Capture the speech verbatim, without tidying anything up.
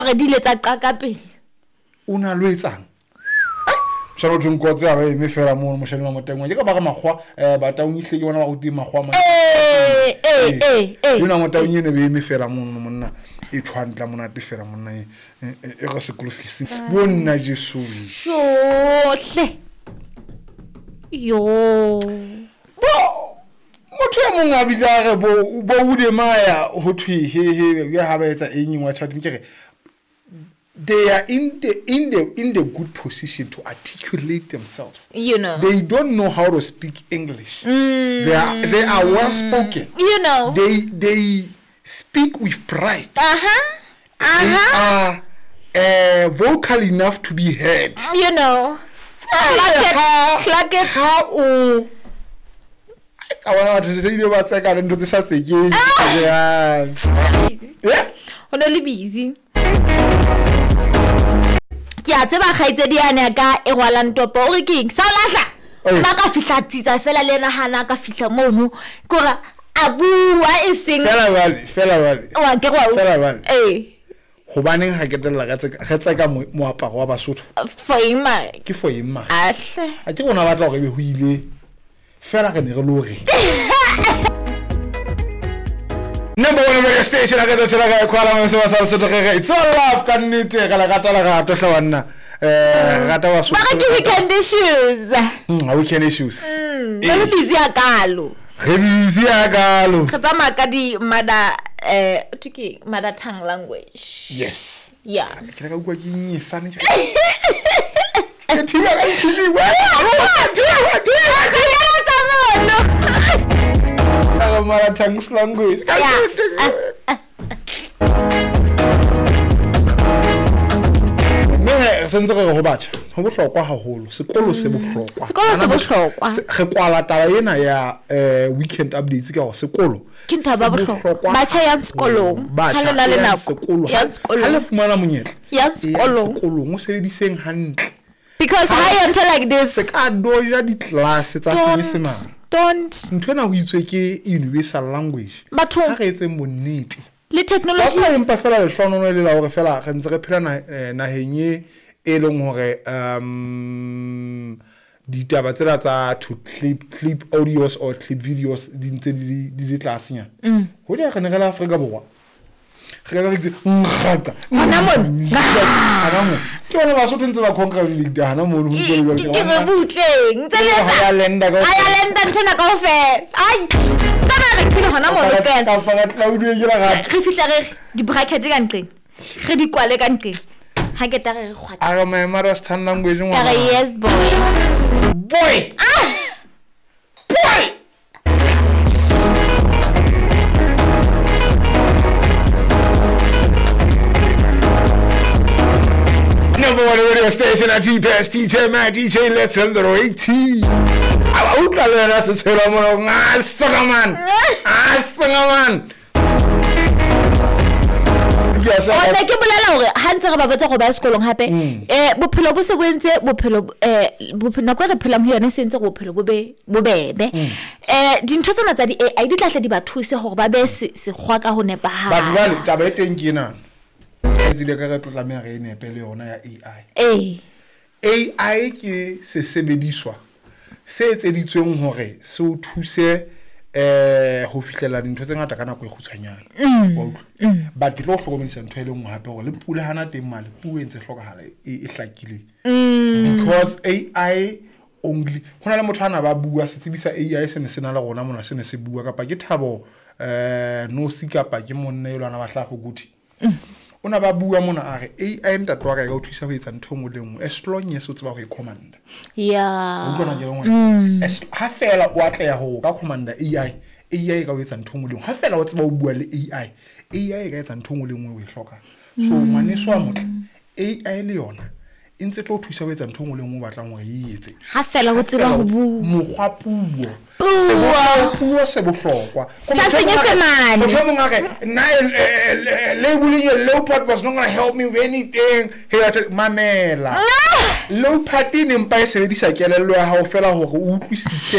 Re di ile tsa qaka pele. O na lo etsang? Moshana o thweng kotse a ba eme fela mono moshane wa motengwa. Ke ka ba re makgwa eh bataung ehlile ke bona ba rutile makgwa a mang. Ee, ee, ee, ee. Yona motaung eno be eme fela mono monna e tshwantla monate fela monna e e re sekolo fees. Bo nna Jesu. Sohle. Yo. Bo motho e mong a bile a re bo bo Ude Maya ho thwe he he ha ba etsa eng eng wa tjha ke re they are in the in the in the good position to articulate themselves. You know. They don't know how to speak English. Mm. They are they are well spoken. You know. They they speak with pride. Uh-huh. Uh-huh. They are uh, vocal enough to be heard. You know. Clack it. Clack it. Ha o ka bona batho se ile ba tseka le ntho tse sa tsekeng. Yeah. Ho no le busy. Ke a tseba kgaitsedi yane ka e rwalang topo o re keng sa lahla nna ka fihla tsitsa fela le ena hana ka fihla mono ke hore a bua e seng fela bale fela bale wa ke go fela bale eh hobaneng ha ke tella ka tseka re tseka moaparo wa Basotho for eng ma ke for eng ma ahle a ke bona batla hore ebe ho ile fela re ne re lo re Number one radio station a ka tshela ka kwala mo se ba sa Sotho re it's all love ka nnete re la rata la rato hla banna eh rata wa Sotho ba ke weekend issues mm weekend issues mm re busy ya kalo re busy ya kalo re tsamaya ka di mother eh ke mother tongue language. Yes. Yeah. Ke ka utlwa ke nyesane ke ke thiba ka dikini wa wa wa mother tongue language. Mme re sentse re ho batjha ho bohlokwa haholo sekolo se bohlokwa sekolo se bohlokwa re kwala taba ena ya weekend updates ka hore sekolo ke ntho ba bohlokwa batjha yang sekolong ha le na le nako ya sekolo ha le fumana monyetla ya sekolong sekolong o sebediseng hantle because ha you enter like this se ka doja di class tsa Senyesemane. Don't ntho ena ho itswe ke universal language batho ha re etseng bonnete le technology ba empa fela lehlonono le la hore fela re ntse re phela naheng e e leng hore um ditaba tsela tsa to clip clip audios or clip videos di ntse di di tlasenyana ho di re ne re la Afrika Borwa re re itse ngata hona mo hona mo ke bona Basotho ntse ba congratulate hona mo ho ntse le ke re butleng ntse le ha ya lenda ka ha ya lenda nthena kaofela ai taba re phele hona mo le fela ka fa tlaudwe ke la ga re fihla re di bracket ka nqeng re di kwale ka nqeng ha ke ta re re kgwatla a re my mother tongue language ngwana ka re yes boy boy ah boy Number one radio station at G P S D J Matt D J Let's Under eighteen. I utlwa le wena se tshwela mo nga soka man. Ah soka man. O ne ke bolela hore ha ntse re ba botsa go ba sekolong hape eh bophelo bo se bo entse bophelo eh bophelo nako re phelang ho yona se entse go bophelo bo be bobebe eh dintho tsena tsa di A I di tla hle di ba thuse hore ba be sekgwa ka ho nepahala. Ba jwale taba e teng ke ena. Tsile ka re tlo tlameha re nepe le yona ya A I. Eh. A I ke sesebediswa se etseditsweng hore se o thuse eh ho fihlela dintho tse ngata ka nako e kgutshwanyane. Wa utlwa. But ke tlo hlokomedisa ntho e le nngwe hape hore le pula hana teng male puo e ntse hlokahala e hlakileng. Because A I only hona le motho ana ba bua se tsebisa A I se ne se na le rona mona se ne se bua kapa ke Thabo eh no si kapa ke monna e lwana ba hlago kuthi. Ona ba bua mona a re A I ntate wa ka e ka o thusa ho etsa ntho engwe le engwe as long as o tseba ho e commanda. Yeah. O utlwa ke ngwana. As ha fela o atleha ho ka commanda A I, A I e ka o etsa ntho engwe le engwe. Ha fela o tseba ho bua le A I, A I e ka etsa ntho engwe le engwe o e hlokang. So ngwaneso wa motle, A I le yona e ntse tlo thusa ho etsa ntho engwe le engwe o batlang hore e etse. Ha fela o tseba ho bua. Mokgwa puo. Puo puo se bohlokwa. Sa Senyesemane. Motho o mong a re nna labeling your leopard was not going to help me with anything. He a mamela. Leopard e ne mpa e sebedisa kelello ya hao fela hore o utlwisise